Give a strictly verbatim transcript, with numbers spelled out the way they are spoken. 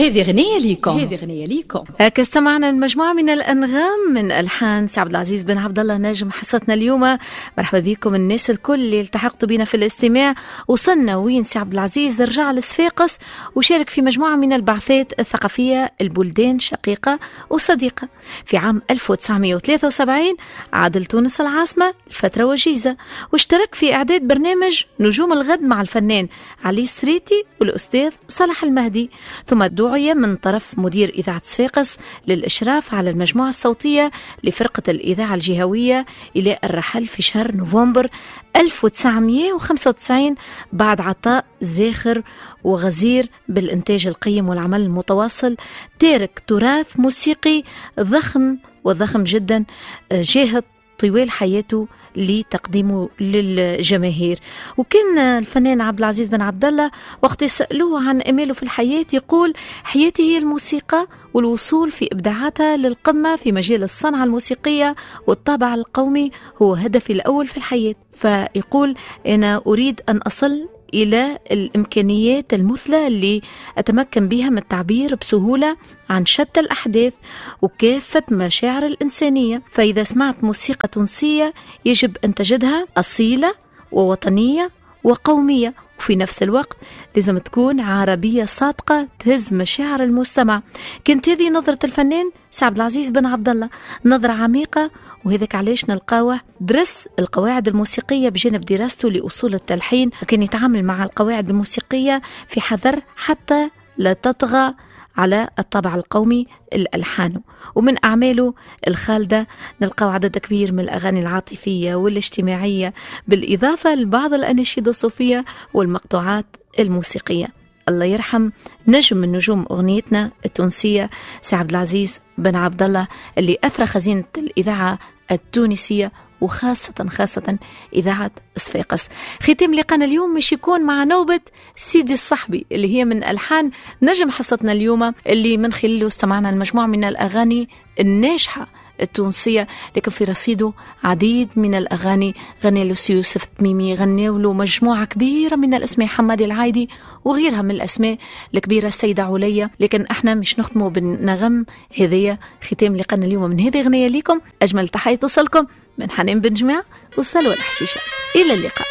هذه غنية ليكم، هذه غنية ليكم. هكا استمعنا لمجموعة من الأنغام من ألحان سي عبد العزيز بن عبد الله ناجم حصتنا اليوم. مرحبا بكم الناس الكل اللي التحقتوا بنا في الاستماع. وصلنا وين سي عبد العزيز رجع لصفاقس وشارك في مجموعة من البعثات الثقافية البلدان شقيقة وصديقة. في عام ألف وتسعمائة وثلاثة وسبعين عاد لتونس العاصمة لفترة وجيزة واشترك في إعداد برنامج نجوم الغد مع الفنان علي السريتي والأستاذ صالح المهدي، ثم دعي من طرف مدير إذاعة صفاقس للإشراف على المجموعة الصوتية لفرقة الإذاعة الجهوية إلى الرحل في شهر نوفمبر ألف وتسعمائة وخمسة وتسعين بعد عطاء زاخر وغزير بالإنتاج القيم والعمل المتواصل، تارك تراث موسيقي ضخم وضخم جدا جاهد طوال حياته لتقديمه للجماهير. وكان الفنان عبد العزيز بن عبد الله وقت يسألوه عن أماله في الحياة يقول: حياتي هي الموسيقى والوصول في إبداعاتها للقمة في مجال الصنعة الموسيقية والطابع القومي هو هدفي الأول في الحياة. فيقول: أنا أريد أن أصل إلى الإمكانيات المثلى اللي أتمكن بها من التعبير بسهولة عن شتى الأحداث وكافة مشاعر الإنسانية. فإذا سمعت موسيقى تونسية يجب أن تجدها أصيلة ووطنية وقومية، وفي نفس الوقت لازم تكون عربية صادقة تهز مشاعر المستمع. كانت هذه نظرة الفنان سي عبد العزيز بن عبد الله، نظرة عميقة، وهذاك علاش نلقاوه درس القواعد الموسيقية بجانب دراسته لأصول التلحين، وكان يتعامل مع القواعد الموسيقية في حذر حتى لا تطغى على الطابع القومي الألحان. ومن أعماله الخالدة نلقاو عدد كبير من الأغاني العاطفية والاجتماعية، بالإضافة لبعض الأناشيد الصوفية والمقطوعات الموسيقية. الله يرحم نجم من نجوم أغنيتنا التونسية سي عبد العزيز بن عبد الله اللي أثرى خزينة الإذاعة التونسية وخاصة خاصة إذاعة صفاقس. ختام لقانا اليوم مش يكون مع نوبة سيدي الصحبي اللي هي من ألحان نجم حصتنا اليوم، اللي من خلاله استمعنا المجموعة من الأغاني الناجحة التونسية، لكن في رصيده عديد من الأغاني. غنى له يوسف التميمي، غنوا له مجموعة كبيرة من الأسماء، حمادي العايدي وغيرها من الأسماء الكبيرة، السيدة عليا. لكن احنا مش نختموا بالنغم هذية. ختام لقانا اليوم من هذه غنية ليكم. أجمل تحية توصلكم من حنان بن جماعة وسلوى الحشيشة. إلى اللقاء.